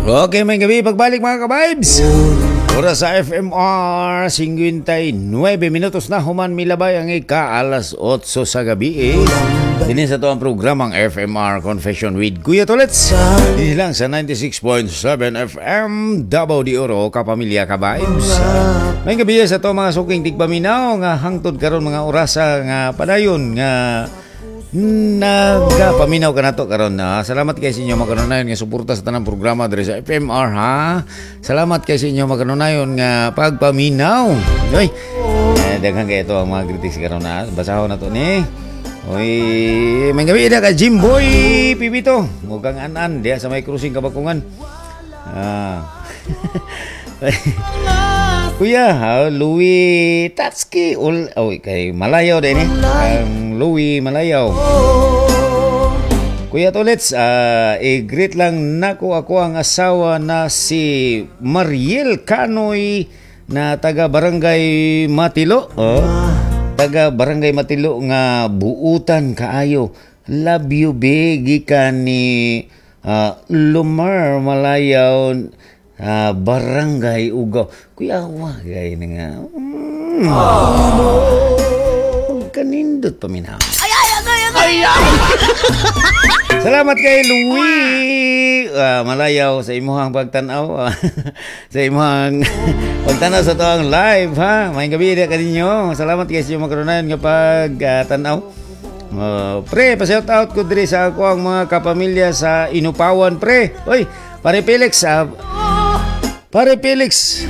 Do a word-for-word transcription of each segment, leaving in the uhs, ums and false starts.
Okay, maayong gabii, pagbalik, mga ka-vibes. Oras sa F M R, singkwentay nuwebe minutos na human milabay ang ika alas otso sa gabi eh. Dinhi sa atoang programang F M R Confession with Kuya Tolets. Dinhi lang sa ninety-six point seven F M, Davao de Oro, Kapamilya Ka-Vibes. Maayong gabii sa ato mga suking tigpaminaw nga hangtod karon mga orasa nga padayon nga nagapaminaw kanato karon na. Salamat kay sa inyo makanunayon nga suporta sa tanang programa diri sa F M R, ha. Salamat kay sa inyo makanunayon nga pagpaminaw. Oy. Eh, daghan kay ito ang mga greetings karon na. Basahon na to ni. Oy, maayong gabii na ka Jimboy Pibito. Mukhang an-an diha sa may crossing Kabakungan. Ah. Kuya, ha, Louis Tatski ul oh, kay Malayaw din eh. Ang Louis Malayaw. Kuya Tolets, uh, i-greet lang nako ako ang asawa na si Mariel Canoy na taga Barangay Matilo. Oh. Taga Barangay Matilo nga buutan kaayo. Love you, big, gikan ni uh, Lumar Malayaw, uh, Barangay Ugaw. Kuya, wa gay na nga. Mm. Kanindot paminaw. Ay, ay, ay, ay, ay. Salamat kay Louis uh, Malayaw sa imuhang pagtanaw, sa imuhang pagtanaw sa atoang live, ha. Maayong gabii diha kaninyo. Salamat kay sa inyong makanunayon nga pagtanaw. Uh, pre, pa-shout out ko diri sa ako ang mga kapamilya sa Inupawan, pre. Oy, pare Felix, uh, pare Felix.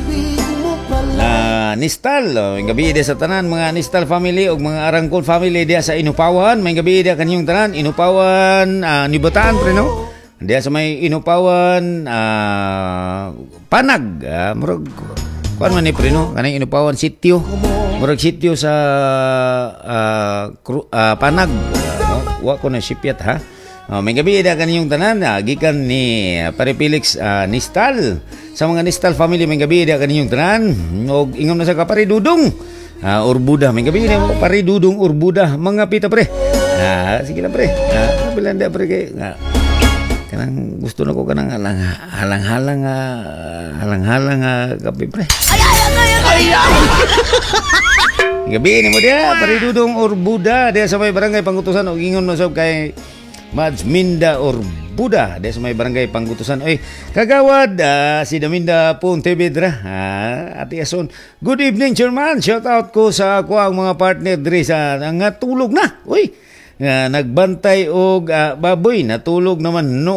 Uh, Nistal, oh, gabii diha sa tanan mga Nistal family ug mga Arangkon family diha sa Inupawan. Maayong gabii diha kaninyong tanan, Inupawan, uh, Nibataan, pre, no? Diha sa may Inupawan, uh, Panag, uh, murag kuan man ni, pre, no? Kaning Inupawan sitio. Murag sitio sa uh, kru, uh, Panag. Uh, wa ko na sipyat, ha. Oh, maayong gabii diha kaninyong tanan, uh, gikan ni uh, Pare Felix uh, Nistal. Sa mga Nistal family, maayong gabii diha kaninyong tanan. Og ingon na sa ka Pare Dudong. Uh, Urbuda, maayong gabii na Pare Dudong Urbuda, mga pita, pre. Ah, sige lang, pre. Ah, bilan dia, pre, kay ah, kanang gusto na ko kanang halang halang-halang uh, halang-halang uh, kape, pre. Ay, ay, ay, ay, ay. Gabii nimo diha, Pare Dudong Urbuda, diha sa may Barangay Pangutusan, og ingon mo sob kay Mads Minda Orbuda diha sa may Barangay Pangutusan. Oy, kagawad uh, si Daminda Pontevedra. Ah, Ate Ason. Good evening, Chairman. Shout out ko sa ako ang mga partner diri sa nga tulog na. Uy, uh, nagbantay og uh, baboy, natulog naman noon.